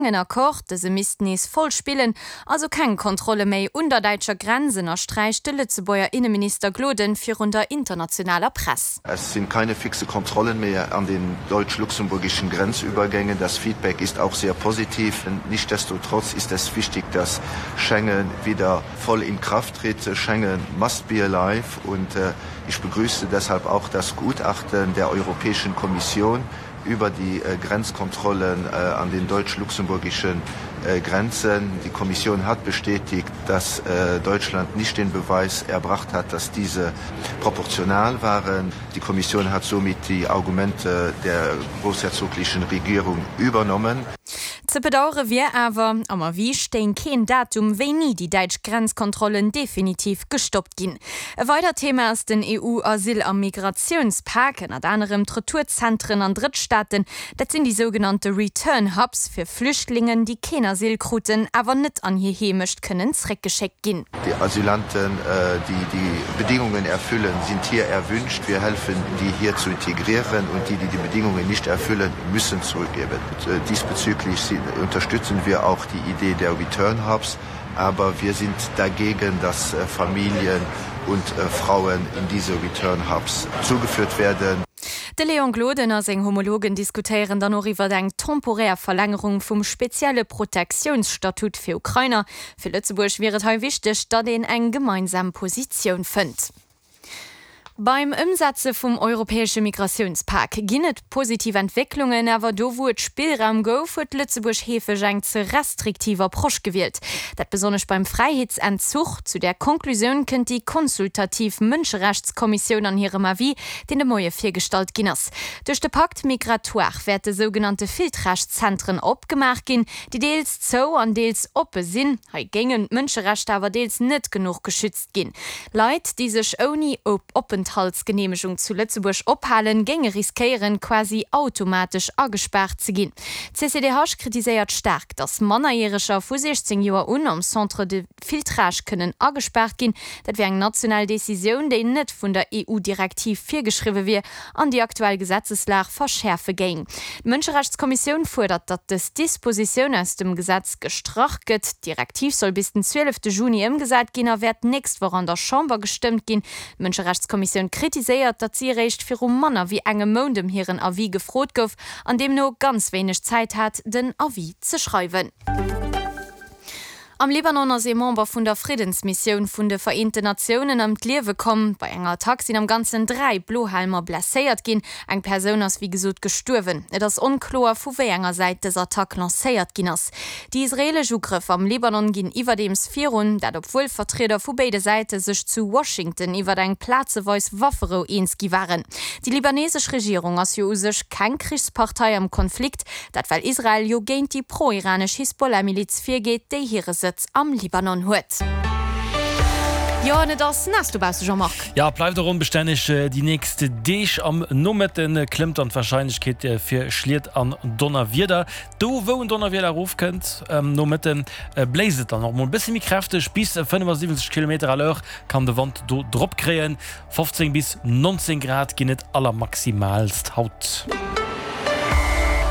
Schengen-Accord, dëse misst nees voll spillen, also keng Kontrolle méi un der däitscher Grenz, ënnersträicht de Lëtzebuerger Inneminister Gloden virun der internationaler Press. Es sind keine fixe Kontrollen mehr an den deutsch-luxemburgischen Grenzübergängen. Das Feedback ist auch sehr positiv. Nichtsdestotrotz ist es wichtig, dass Schengen wieder voll in Kraft tritt. Schengen must be alive und ich begrüße deshalb auch das Gutachten der Europäischen Kommission, über die Grenzkontrollen an den deutsch-luxemburgischen Grenzen. Die Kommission hat bestätigt, dass Deutschland nicht den Beweis erbracht hat, dass diese proportional waren. Die Kommission hat somit die Argumente der großherzoglichen Regierung übernommen. Ze bedauere wier awer, am Avis stéing keen Datum, wéini déi däitsch Grenzkontrollen definitiv gestoppt ginn. E weidert Thema ass den EU-Asyl a Migratiounspak, ënnert anerem d'Retourzentren an Drëttstaaten. Dat sinn déi sougenannte Return Hubs fir Flüchtlingen, déi keen Asyl kruten, awer net an hir Heemecht kënnen zréckgeschéckt ginn. Die Asylanten, die die Bedingungen erfüllen, sind hier erwünscht. Wir helfen, die hier zu integrieren und die, die die Bedingungen nicht erfüllen, müssen zurückgeben. Diesbezüglich unterstützen wir auch die Idee der Return Hubs. Aber wir sind dagegen, dass Familien und Frauen in diese Return Hubs zugeführt werden. De Léon Gloden a seng Homologen diskutéieren dann och iwwer eng temporär Verlängerung vum spezielle Protektiounsstatut fir Ukrainer. Fir Lëtzebuerg wier et hei wichteg, datt een eng gemeinsam Positioun fënnt. Beim Ëmsetze vum europäesche Migratiounspak ginn et positiv Entwécklungen, awer do wou et Spillraum gouf, huet Lëtzebuerg heefeg eng ze restriktiv Approche gewielt. Dat besonnesch beim Fräiheetsentzuch. Zu där Konklusioun kënnt déi consultativ Mënscherechtskommissioun an hirem Avis, deen de Moie virgestallt ginn ass. Duerch de Pacte migratoire wäerte sougenannte Filtragezentren opgemaach ginn, déi deels zou an deels oppe sinn. Hei géingen d'Mënscherechter awer deels net genuch geschützt ginn. Leit, déi sech ouni Openthaltsgeneemegung zu Lëtzebuerg ophalen, géinge riskéieren, quasi automatesch agespaart ze ginn. D'CCDH kritiséiert staark, datt Mannerjäreger vu 16 Joer un am Centre de filtrage kënnen agespaart ginn. Dat wier eng national Decisioun, déi net vun der EU-Direktiv virgeschriwwe wier an déi aktuell Gesetzeslag verschäerfe géing. D'Mënscherechtskommissioun fuerdert, datt dës Dispositioun aus dem Gesetz gestrach gëtt. D'Direktiv soll bis den 12 Juni ëmgesat ginn a wäert d'nächst Woch an der Chamber gestëmmt ginn. D'Mënscherechtskommissioun kritiséiert, datt si eréischt viru manner wéi engem Mount ëm hiren Avis gefrot gouf an deemno ganz wéineg Zäit hat, den Avis ze schreiwen. Am Libanon ass ee Member vun der Friddensmissioun vun de Vereenten Natiounen ëm d'Liewe komm. Bei enger Attack sinn am Ganzen 3 Blohelmer blesséiert ginn. Eng Persoun ass wéi gesot gestuerwen. Et ass onkloer, vu wéi enger Säit dës Attack lancéiert ginn ass. Déi israeelesch Ugrëff am Libanon ginn iwwerdeems virun, dat obwuel Vertrieder vu béide Säite sech zu Washington iwwer eng plazeweis Wafferou eens gi waren. Déi libanesesch Regierung ass jo u sech keng Krichspartei am Konflikt. Dat well Israel jo géint déi pro-iranesch Hisbollah-Miliz virgeet, déi hire Sëtz am Libanon huet. Jo, an et ass naass dobausse, Jean-Marc. Jo, et bleift och onbestänneg déi nächst Deeg. Am Nomëtte klëmmt dann d'Warscheinlechkeet fir Schliet an Donnerwieder. Do wou en Donnerwieder erofkënnt am Nomëtte bléist et dann och mol e bësse méi kräfteg, bis 75 Kilometer à l'heure kann de Wand do drop kréien. 15 bis 19 Grad ginn et allermaximaalst haut.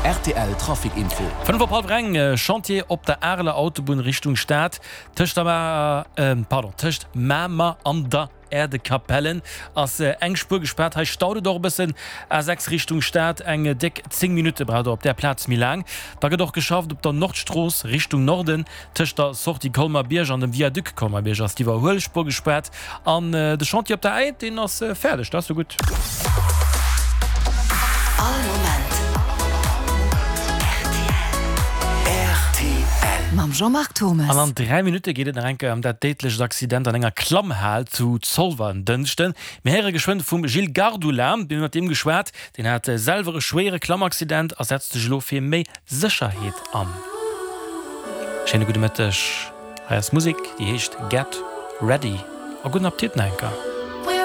Rtl Trafic Info. 5 op hallwer eng, Chantier op der Areler Autobunn Richtung Stad, tëscht der, pardon, tëscht Mamer an der Erdekapellen ass eng Spuer gespaart. Hei staut et och e bëssen. A6 Richtung Stad, eng déck 10 Minutte braucht der op där Plaz méi laang. Da gëtt och geschafft op der Nordstrooss Richtung Norden, tëscht der Sortie Colmer-Bierg an dem Viaduc Colmer-Bierg ass d'Iwwerhuelspuer gespaart. An de Chantier op der Äid, deen ass fäerdeg, dat ass jo gutt. All Moment rtl. Mam Jean-Marc Thommes. An an 3 Minutte geet et nach eng Kéier ëm dat déidlecht Accident an enger Klammhal zu Zolwer en Dënschden. Mir héiere geschwënn vum Gilles Gardula, mir hunn mat deem geschwat, deen hat selwer e schwéiere Klammaccident a setzt sech elo fir méi Sécherheet an. Schéine gudde Mëtteg, hei ass Musek déi heescht Get Ready a gudden Appetit nach eng Kéier.